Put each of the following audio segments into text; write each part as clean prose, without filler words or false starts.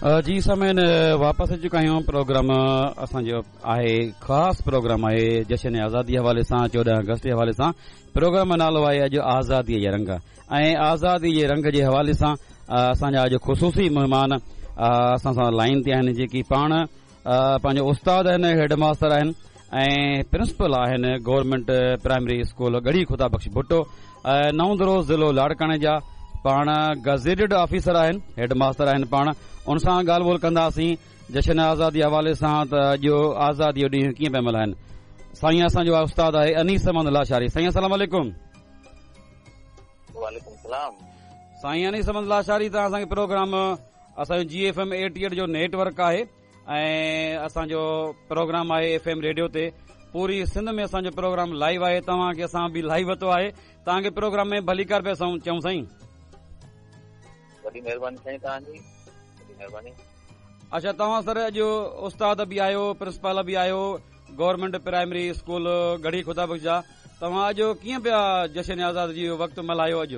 جي سامعين واپس اچي چڪا آهيون پروگرام اسان جو آهي خاص پروگرام آهي جشن آزادي حوالي سان 14 آگسٽ جي حوالي سان پروگرام جو نالو آهي اڄ آزادي جا رنگ ۽ آزادي جي رنگ جي حوالي سان اسان جا اڄ خصوصي مهمان اسان سان لائين تي آهن جيڪي پاڻ پنهنجو استاد آهن هيڊ ماستر آهن ۽ پرنسپل آهن گورنمينٽ پرائمري اسڪول ڳڙهي خدا بخش ڀٽو نئون درو ضلعو لاڙڪاڻي جا پاڻ گزيٽيڊ آفيسر آهن هيڊ ماستر آهن پاڻ ان سان ڳالهه ٻولهه ڪنداسين جشن آزادي حوالي سان ته اڄ آزادي جو ڏينهن ڪيئن پيا ملهائن سائين اسان جو استاد آهي انيس احمد لاشاري سائين السلام عليڪم وعليڪم السلام سائين انيس احمد لاشاري توهان اسان کي پروگرام اسان جو جي ايف ايم 88 جو نيٽ ورڪ آهي ۽ اسان جو پروگرام آهي ايف ايم ريڊيو تي پوري سنڌ ۾ اسان جو پروگرام لائيو آهي توهان کي اسان به لائيو ورتو آهي توهان کي پروگرام ۾ ڀليڪار پيا چئون سائين وڏي مهرباني سائين توهان جي وڏي مهرباني اچها توهان سر اڄ استاد به آهيو پرنسپال به آهيو گورنمينٽ پرائمري اسڪول ڳڙهي خدا بخش جا توهان اڄ ڪيئن پيا جشن آزادي جو وقت ملهايو اڄ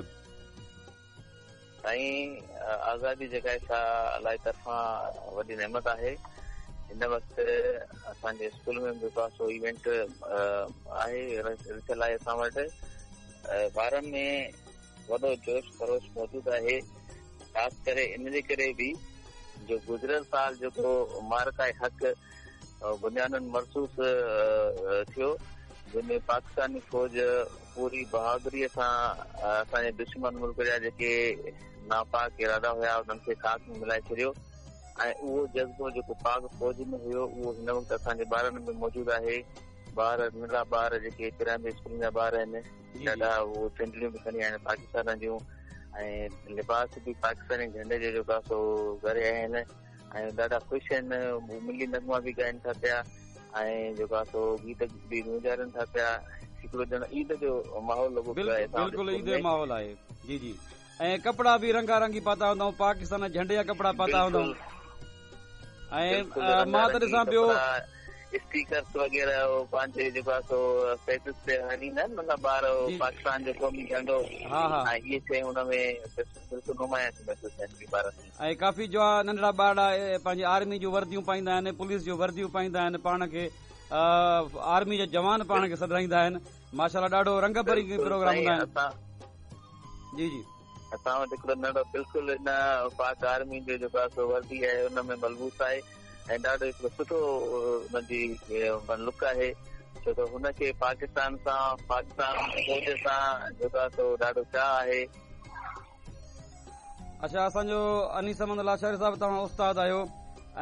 سائين آزادي جيڪا آهي سا الله جي طرفان وڏي نعمت آهي هن وقت اسان جي اسڪول ۾ به جيڪو آهي سو ايونٽ آهي رٿيل آهي اسان وٽ ٻارن ۾ وڏو جوش خروش موجود آهي خاص ڪري ان جي ڪري به جو گذريل سال جيڪو معرڪه حق بنيان مرصوص ٿيو جنهن ۾ پاڪستاني فوج پوري بهادري سان اسان جي دشمن ملڪ جا جيڪي ناپاڪ ارادا هيا انهن کي خاڪ ۾ ملائي ڇڏيو ۽ اهو جذبو جيڪو پاڪ فوج ۾ هيو اهو هن وقت اسان جي ٻارن ۾ موجود آهي ٻار ننڍڙا ٻار جيڪي پرائمري اسڪولن جا ٻار آهن ڏاڍا اهو چهنڊڙيون به کڻي آيا آهن پاڪستان جون ۽ لباس به پاڪستاني جهنڊي جو جيڪو آهي سو ڪري آيا آهن ۽ ڏاڍا خوش آهن هو ملي نغما به ڳائن ٿا پيا ۽ جيڪو آهي سو گيت به گونجارن ٿا پيا هڪڙو ڄڻ عيد جو ماحول لڳو پيو آهي بلڪل عيد جو ماحول آهي جي جي ۽ ڪپڙا به رنگا رنگي پاتا هوندائون پاڪستان جهنڊي جا ڪپڙا پاتا هوندائون ۽ مان ته ڏسان پيو اسٽيڪرس وغيره هو پنهنجي جيڪو آهي سو فيسز تي هڻيندا آهن مطلب ٻار پاڪستان جو قومي جهنڊو ها ها ۽ اهي شيون هن ۾ بلڪل نمايان ٿيون محسوس ٿين ٻارن ۾ ۽ ڪافي جو ننڍڙا ٻارڙا پنهنجي آرمي جون ورديون پائيندا آهن پوليس جون ورديون پائيندا آهن پاڻ کي آرمي جا جوان پاڻ کي سڏرائيندا آهن ماشاءالله ڏاڍو رنگ برنگي پروگرام هوندا آهن جي جي اسان وٽ هڪڙو ننڍڙو بلڪل ان پاڪ آرمي جو جيڪو آهي سو وردي آهي ان ۾ ملبوس آهي ۽ ڏاڍو هڪڙو سٺو ان جي لڪ آهي ڇو ته هن کي پاڪستان سان پاڪستان فوج سان جيڪو آهي سو ڏاڍو چاهه آهي اڇا اسان جو انيس احمد لاشاري صاحب توهان استاد آهيو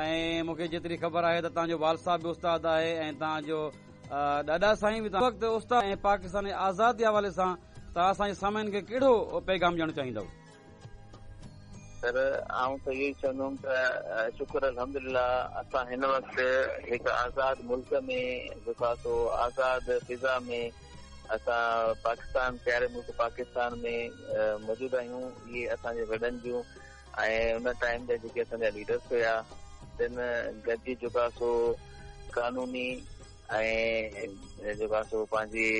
۽ مون کي جيتري خبر آهي ته توهان جو والد صاحب به استاد آهي ۽ توهان جو ڏاڏا سائين به وقت استاد ۽ پاڪستان جي آزادي حوالي سان توهان اسان جي سامعين کي ڪهڙو پيغام ڏيڻ چاهيندؤ سر آئون ته اهو ئي چوندم ته شڪر الحمدلله اسان هن وقت هڪ آزاد ملڪ ۾ جيڪو آهي سو آزاد فضا ۾ اسان پاڪستان پياري ملڪ پاڪستان ۾ موجود آهيون اهي اسان جي وڏن جون ۽ ان ٽائيم جا جيڪي اسان جا ليڊرس هيا تن گڏجي جيڪو آهي سو قانوني ۽ جيڪو آهي سو پنهنجي